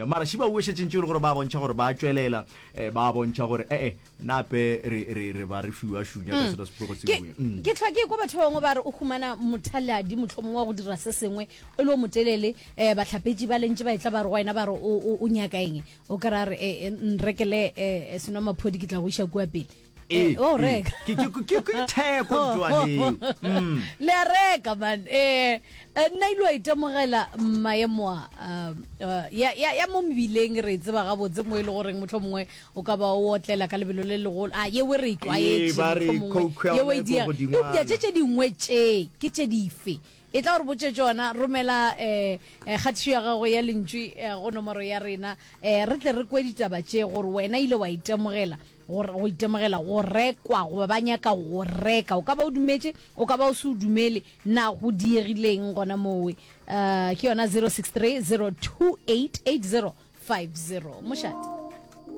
Mara šiba o šetše ntše e le gore ba bontšha gore ba tšwelela, eh, ba bontšha gore ee nape re re re ba re fiwa šunya ka sona sepego Ke sengwe. Mm. ke hlwa ke kwa batho ba bangwe ba re o humana mothaladi mohlomongwe wa go dira se sengwe o le o motelele um bahlapetši ba lentše ba etla ba re go wena ba re o o- o nyaka eng o kry-a re eh, eh, nrekele um senwamaphodi ke tla go iša kua pele Ee, o reka ke ke ke ke theko ntwaneng. Mm. Le a reka man. Eh nna ile wa itemogela maemo a uh, ya ya ya mo mebileng re tseba gabotse mo e le goreng motlho mongwe o ka ba o otlela ka lebelo le legolo a yewe re itlwaetše mohlomongwe yewe e dia eupša tše tše dingwe tše ke tše dife e tla gore botše tšona romela um kgatišo ya gago ya lentšu go nomoro ya rena um re tle re kwe ditaba tše gore wena ile wa itemogela Go, go itemogela go rekwa goba ba nyaka go reka. O ka ba o dumetše, o ka ba o se o dumele, na go diegileng gona mowe? Uh, ke yona 063 028 8050. Mošate.